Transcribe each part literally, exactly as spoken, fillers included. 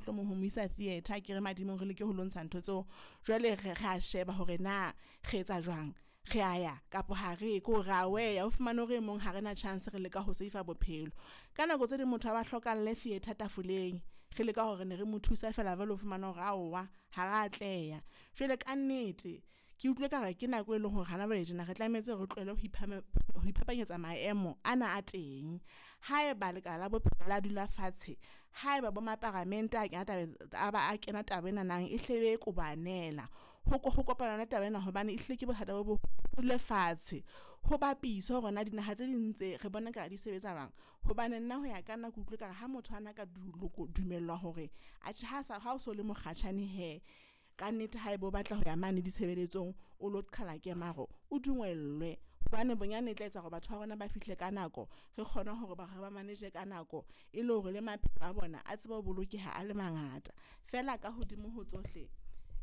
mohlomong ho mo isa theatre ke re madimong re leke ho lo ntsha ntho tseo. Jwale re re a sheba hore na re etsa jwang, re a ya kapa ha re ko re a weya o fumane hore e mong ha rena chance re leka ho save bophelo. Ka nako tse ding motho a ba hlokalle theatre tafoleng, re leka hore ne re mo thusa fela jwale o fumana hore aowa ha ra atleha. Jwale ka nnete ke utlwe ekare ke nako e leng hore hana jwale tjena re tlametse re tlohele ho ho iphapanyetsa maemo ana a teng. Haeba lekala la bophelo la dula fatshe, haeba bo maparamente a kena tabeng a ba a kena taba enana e hle be kobanela ho ho kopana taba ena hobane ehlile ke bothata bo dule fatshe. Ho bapiswe hore na dinaha tse ding tse re bona ekare di sebetsa jwang. Hobane nna ho ya ka nna ke utlwe ekare ha motho ana ka dumellwa hore atjhe ha sa ha o so le mokgatjhane hee. Ka nnete haeba o batla ho ya mane ditshebeletsong, o lo qhala kemaro, o dungwellwe hobane bonyane e tla etsa hore batho ba rona ba fihle ka nako. Re kgone hore ba re ba manage ka nako e le hore le maphelo a bona a tsebe ho bolokeha a le mangata. Feela ka hodimo ho tsohle,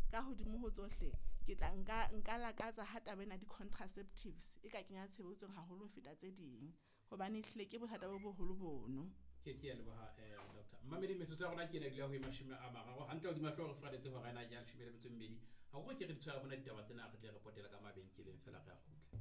ka hodimo ho tsohle, ke tla nka nka lakatsa ha taba ena di-contraceptives e ka kenya tshebetsong haholo ho feta tse ding. Hobane ehlile ke bothata bo boholo bono. Ke ke a leboha eh doctor. Mmamedi metsotso ya rona ke ena dula ho e mashome a mararo hantle hodima hlooho re fradetse hora ena ya leshome le metso e mmedi. Ha ke re di tshwara bona ditaba tsena re tle re potele ka mabenkeleng fela re a kgutla.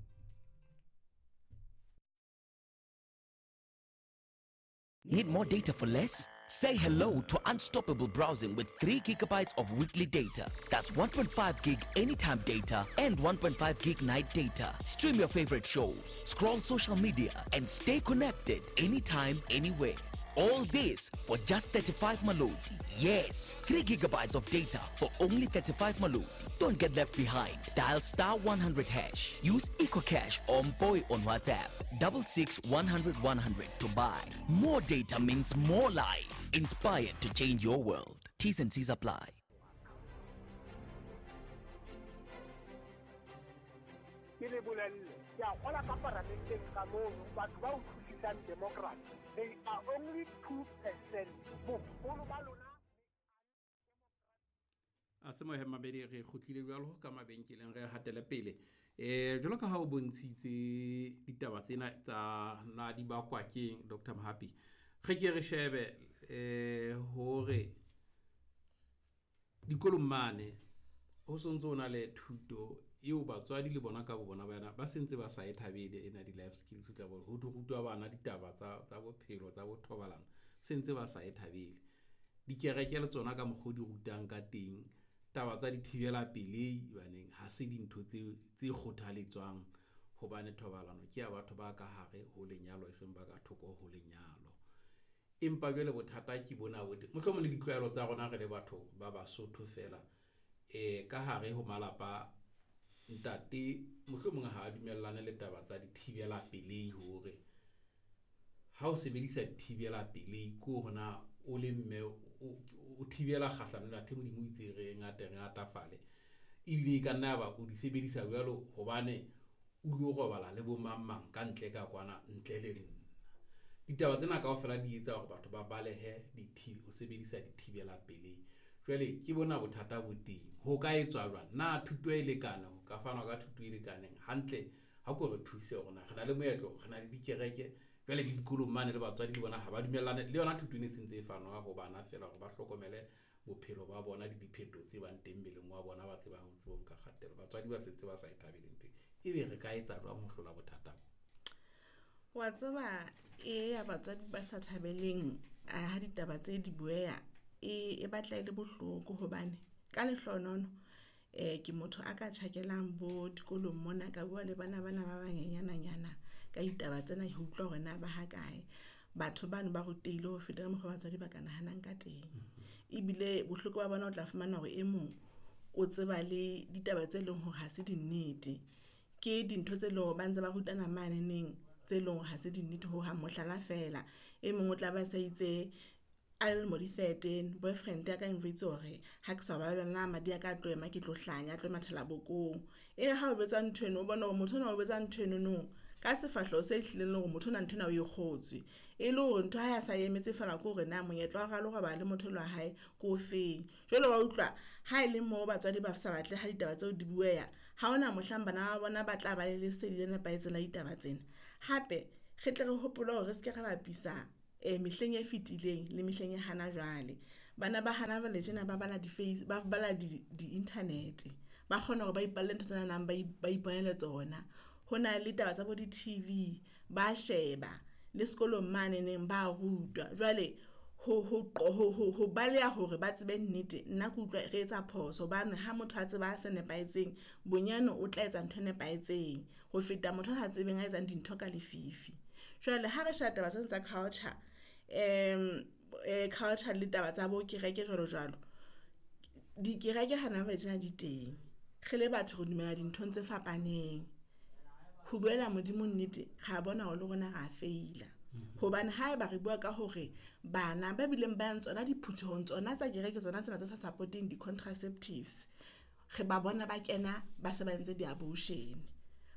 Need more data for less? Say hello to unstoppable browsing with three gigabytes of weekly data. That's one point five gig anytime data and one point five gig night data. Stream your favorite shows, scroll social media, and stay connected anytime, anywhere. All this for just thirty-five Maloti. Yes, three gigabytes of data for only thirty-five Maloti. Don't get left behind. Dial star one hundred hash. Use EcoCash or Mpoy on WhatsApp. Double six one hundred one hundred to buy. More data means more life. Inspired to change your world. T's and C's apply. Ke le bolelle, ke a kgola ka paramenteng ka mono, batho ba utlwisisang democracy, they are only two percent. Boholo ba lona A se mohe mabedi re kgutlile jwalo ka mabenkeleng re hatele pele. Eh jwalo ka ha o bontshitse ditaba tsena tsa na di bakwa keng Doctor Mohapi. Re ke re shebe eh hore dikolong mane ho sontso na le thuto eo batswadi le bona ka bo bona bana ba sentse ba sa e thabele ena di life skills tla bo ho rutwa bana ditaba tsa tsa bophelo tsa bothobalano sentse ba sa e thabele. Dikereke le tsona ka mokgwa di rutang ka teng taba tsa dithibela pelei baneng ha se dintho tse tse kgothaletswang hobane thobalano ke ya batho ba ka hare ho lenyalo e seng ba ka thoko ho lenyalo. Empa jwale bothata ke bona bo teng mohlomong le ditlwaelo tsa rona re le batho ba Basotho fela eh ka hare ho malapa ntate mohlomong ha a dumellane le taba tsa dithibela pelei hore ha o sebedisa dithibela pelei ke hore na o le mme o thibela kgahlano le athe Modimo o itse re ngata re ngatafale ebile e ka nna ba o di sebedisa jwalo hobane o lo robala le bo mang mang ka ntle ka kwana ntle le nna. Ditaba tsena kaofela di etsa hore batho ba balehe dithibe ho sebedisa dithibela pelei. Jwale ke bona bothata bo teng. Ho ka etswa jwang? Na thuto e lekane ho ka fanwa ka thuto e lekaneng hantle ha ko re thuse hore na re na le moetlo, re na le dikereke jwale le dikolong mane le batswadi le bona ha ba dumellane le yona thuto e sentse e fanwa ho bana fela hore ba hlokomele bophelo ba bona le dipheto tse bang teng mmeleng wa bona ba tsebang ho tsebong ka kgatelo. Batswadi ba sentse ba sa e thabele ntho e be re ka etsa jwang ho hlola bothata bo? Wa tseba e ya batswadi ba sa thabeleng ha ditaba tse di bueya e e batla e le bohloko hobane ka lehlonono eh ke motho a ka tjhakelang bo dikolong mona ka bua le bana bana ba banyenyana ka ditaba tsena ho utlwa hore na ba ha kae. Batho bano ba rutehile ho feta ka mokgwa batswadi ba ka nahanang ka teng. Ebile bohloko ba bona o tla fumana hore e mong o tseba le ditaba tse leng hore ha se dinnete. Ke dintho tse leng hore ba ntse ba rutana mane neng tse leng hore ha se dinnete ho hang. Mohlala fela e mong o tla ba sa itse a le lemo di thirteen boyfriend ya ka e njwetse hore ha ke sa ba le yona madi a ka tlo ema ke tlo hlanya a tlo mathela bokong. E ha o jwetsa ntho eno o bona hore motho ona o jwetsa ntho eno no ka sefahleho se hlileng le hore motho ona ntho ena o e kgotswe. E le hore ntho ha ya sa emetse fela ke hore na monyetla wa ralo robala le motho wa hae ko feng. Jwale wa utlwa ha e le mo batswadi ba sa batle ha ditaba tseo di bueya ha hona mohlang bana ba bona ba tla ba le lesedi le nepahetseng la ditaba tsena. Hape re tle re hopole hore re seke ra bapisa eh mehleng e fetileng le mehleng ya hana jwale. Bana ba hana jwale tjena ba bala di ba bala di di-internet. Ba kgona hore ba ipalle ntho tse nang ba ba iponele tsona. Ho na le taba tsa bo di-T V, ba sheba le sekolong mane neng ba rutwa. Jwale ho ho ho ho baleha hore ba tsebe nnete, nna ke utlwa re etsa phoso hobane ha motho a tseba se nepahetseng bonyane o tla etsa ntho e nepahetseng ho feta motho a sa tsebeng a etsang dintho ka lefifi. Jwale ha re sheba taba tsena tsa culture culture le taba tsa bo kereke jwalo jwalo. Dikereke hana jwale tjena di teng, re le batho re dumela dinthong tse fapaneng. Ho buela Modimo nnete, ra bona hore le rona ra feila. Hobane haeba re bua ka hore bana ba bileng ba yang tsona diphuthehong tsona tsa kereke tsona tsena tse sa support-eng di-contraceptives, re ba bona ba kena ba se ba entse di-abortion.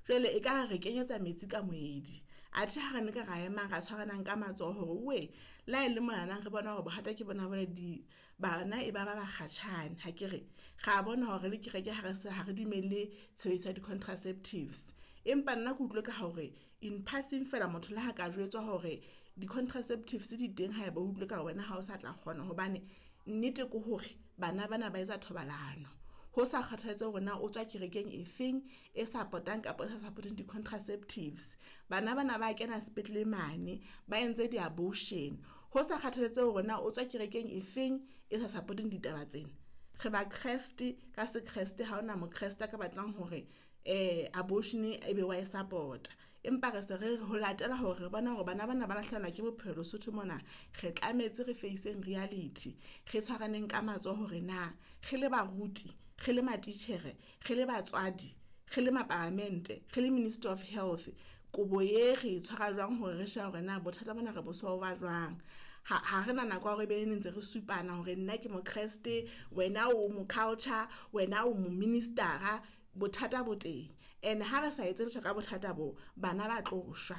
Jwale e ka re kenyetsa metsi ka moedi, athe ha re ne ka ra emang ra tshwaranang ka matsoho hore wee le ha ele monana re bona hore bohata ke bona bone di bana e ba ba bakgatjhane hakere. Ra bona hore le kereke ha re se ha re dumelle tshebediso ya di-contraceptives. Empa nna ke utlwe ka hore in passing fela motho le ha ka jwetswa hore di-contraceptives di teng haeba o utlwe ka wena ha o sa tla kgona hobane nnete ke hore bana bana ba etsa thobalano. Ho sa kgathalatsehe hore na o tswa kerekeng e feng e support-ang kapa e sa support-eng di-contraceptives. Bana bana ba kena sepetlele mane ba entse di-abortion. Ho sa kgathalatsehe hore na o tswa kerekeng e feng e sa support-eng ditaba tsena. Re ba Kreste ka se Kreste ha hona mo Kreste a ka batlang hore abortion e be wa e support-a. Empa re se re re ho latela hore re bona hore bana bana ba lahlehelwa ke bophelo Lesotho mona, re tlametse re face-eng reality. Re tshwaraneng ka matsoho hore na re le baruti, re le matitjhere, re le batswadi, re le mapalamente, re le Ministry of Health, kobo e re e tshwara jwang hore re shebe hore na bothata bona re bo solve jwang. Ha ha re na nako ya hore ebe ne ntse re supana hore nna ke mo Kreste, wena o mo culture, wena o mo minister-a. Bothata bo teng and ha re sa etse letho ka bothata bo, bana ba tlo shwa.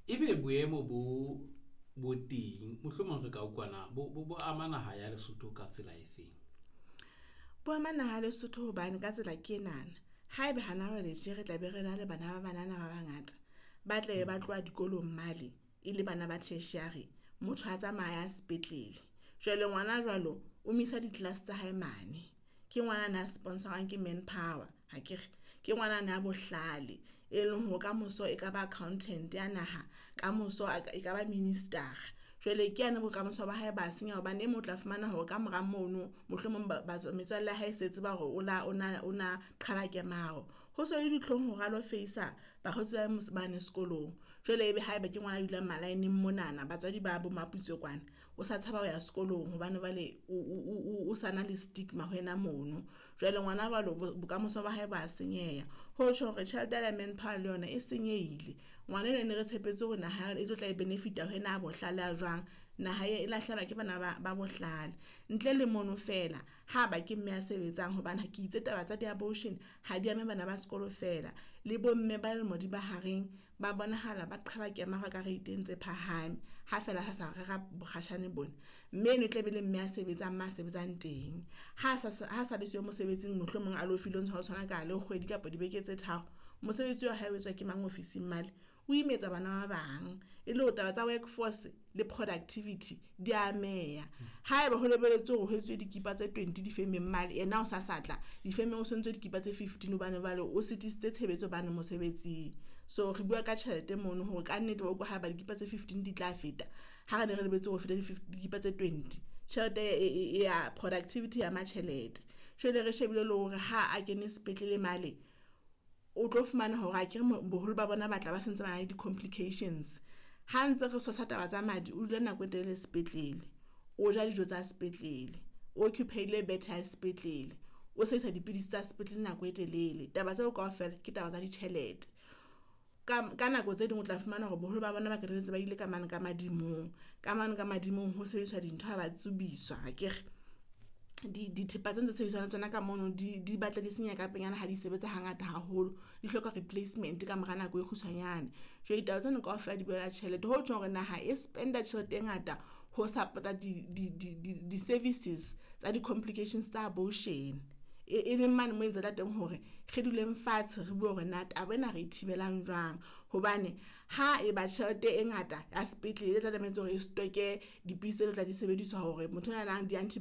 Ebe boemo bo bo teng mohlomong re ka utlwana bo bo, bo ama naha ya Lesotho ka tsela e feng? Bo ama naha ya Lesotho hobane ka tsela ke enana. Haeba hana jwale tje re tla be re na le bana ba banana ba bangata ba tla be ba tloha dikolong male e le bana ba tertiary, motho a tsamaya sepetlele. Jwale ngwana jwalo o misa di-class tsa hae mane. Ke ngwana na sponsor-wang ke Manpower akere, ke ngwana na bohlale e leng hore kamoso e ka ba accountant ya naha, kamoso e ka ba minister. Jwale ke yane bokamoso ba hae ba senya hobane e mong o tla fumana hore ka mora mono mohlomong ba metswalle ya hae se tseba hore o la o na o na qhala kemaro. Ho so le ditlhong hore a lo face-a bakgotsi ba mane sekolong. Jwale ebe haeba ke ngwana a dulang malaeneng monana, batswadi ba bo Maputswe kwana, o sa tshaba ho ya sekolong hobane jwale o o o sa na le stigma ho yena mono. Jwale ngwana jwalo bokamoso ba hae ba senyeha. Ho tjho hore tjhelete ya Manpower le yona e senyehile. Ngwana enwa ne re tshepetse hore naha e tlo tla e benefit-a ho yena a bohlale a jwang. Naha e lahlehelwa ke bana ba ba bohlale. Ntle le mono fela ha ba ke mme a sebetsang hobane ke itse taba tsa di-abortion ha di ame bana ba sekolo fela. Le bomme ba lemo di mahareng ba bonahala ba qhala kemaro ka rate tse phahame ha fela ha sa rera bokgatjhane bona. Mme eno e tla be le mme a sebetsang ma sebetsang teng. Ha sa ha sa le siyo mosebetsing mohlomong a lo fileng ho tshwana ka le kgwedi kapa dibeke tse tharo. Mosebetsi wa hae o etswa ke mang ofising male, o imetsa bana ba bang. E le hore taba tsa workforce le productivity di ameha. Haeba ho lebelletswe hore ho etswe dikipa tse twenty difemeng mane, yena o sa sa tla difemeng o sentse dikipa tse fifteen hobane jwale o sitisitse tshebetso bane mosebetsing. So re bua ka tjhelete mono hore ka nnete wa utlwa haeba dikipa tse fifteen di tla feta, ha re ne re lebetse hore feta dikipa tse twenty. Tjhelete e ya productivity ya ma tjhelete. Jwale re shebile le hore ha a kene sepetlele male, o tlo fumana hore akere boholo ba bona ba tla ba sentse ba na le di-complications. Ha ntse re sosa taba tsa madi, o dula nako e telele sepetlele, o ja dijo tsa sepetlele, o occupy-ile bethe ya sepetlele, o sebedisa dipidisi tsa sepetlele nako e telele. Taba tseo kaofela ke taba tsa ditjhelete. Ka ka nako tse ding o tla fumana hore boholo ba bona ba qetelletse ba ile ka mane ka madimong. Ka mane ka madimong ho sebediswa dintho ha ba tsubiswa akere. Di dithepa tse ntse sebediswang le tsona ka mono di di batla di senyeha ka pelenyana ha di sebetsa hangata haholo. Di hloka replacement ka mora nako e kgutshwanyane. Jwale ditaba tsena kaofela di bolela tjhelete. Ho tjhong hore naha e spend-a tjhelete e ngata ho support-a di di di di di-services tsa di-complications tsa abortion. E, e leng mane mo e ntse tla teng hore re duleng fatshe re bue hore na taba ena re e thibelang jwang. Hobane ha e ba tjhelete e ngata ya sepetlele e tla tlametse hore e stock-e dipidisi tse tla di sebediswa hore motho a nang di